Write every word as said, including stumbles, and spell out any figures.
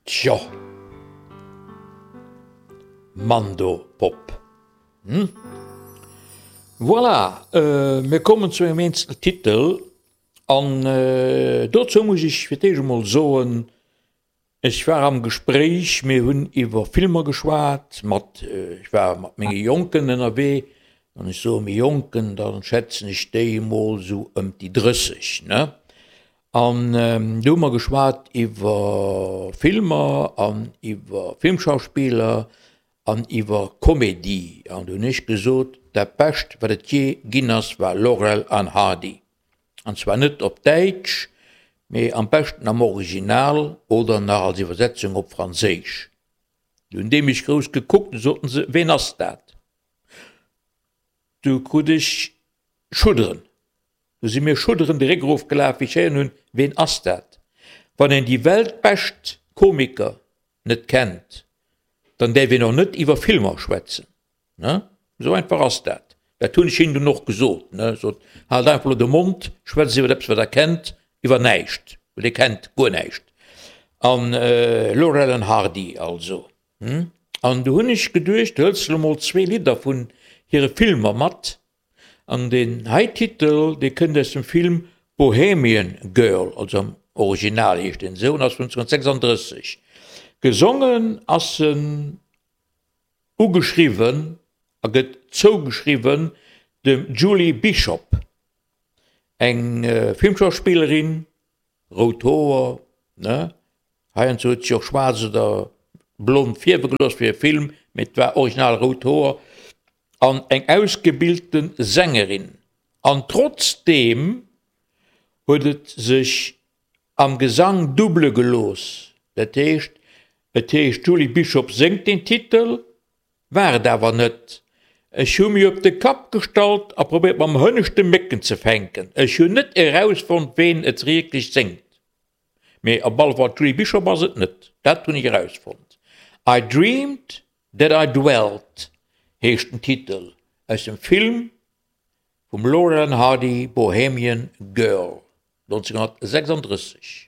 Tjo. Mandopop. Hm? Voilà, mir kommen zu engem eenzel Titel an dozou muss ech fir d'éischt emol soen, ech war am Gespréich, mir hunn iwwer Filmer geschwat mat, ech war mat menge Jonken ënnerwee, wann ech soe méi Jonken, da schätzen ech déi emol esou ëm déi drësseg, ne? An do hu mer geschwat iwwer Filmer an iwwer Filmschauspiller an iwwer Komedie. An do hunn ech gesot, dat Bescht, wat et jee ginn ass, war Laurel an Hardy. An zwar net op Däitsch, mee am beschten am Original oder nach als Iwwersetzung op Franséisch. Du hunn déi mech grouss gekuckt, du soten se, ween ass dat? Du krut ech Schudderen. Du si mir Schudderen de Réck erofgelaf, wéi ech héieren hunn, ween ass dat? Wann een déi weltbescht Komiker net kennt, dann däerf een och net iwwer Filmer schwätzen, ne? Esou einfach ass dat. Dat hunn ech hinnen dunn och gesot, ne? Sot, haalt einfach elo de Mond, schwätzt iwwer eppes, wat der kennt, iwwer näischt, well dir kennt guer näischt. An Laurel an Hardy also, hm? An du hunn ech geduecht, du hëls elo mol zwee Lidder vun hire Filmer mat, An deen hei Titel, dee kënnt aus dem Film Bohemian Girl, also am Original heescht en esou, an ass vun neunzehnhundertsechsunddrësseg. Gesongen ass en ugeschriwwen a gëtt zougeschriwwen dem Julie Bishop, eng Filmschauspillerin, rout Hoer, ne? Heiansdo huet si och schwaarz oder blond fierwe gelooss fir e Film, mee et war original rout Hoer. An eng ausgebilte Sängerin. An trotzdeem huet et sech am Gesang double gelooss. Dat heescht, et heescht d'Julie Bishop séngt den Titel, war et awer net. Ech hu mir op de Kapp gestallt a probéiert mam hënneschte Mécken ze fänken. Ech hunn net erausfonnt ween et wierklech séngt. Mee op alle Fall d'Julie Bishop ass et net, dat hunn ech erausfonnt. I dreamed that I dwelt heescht den Titel aus dem Film vum Laurel and Hardy Bohemian Girl, neunzehnhundertsechsunddrësseg.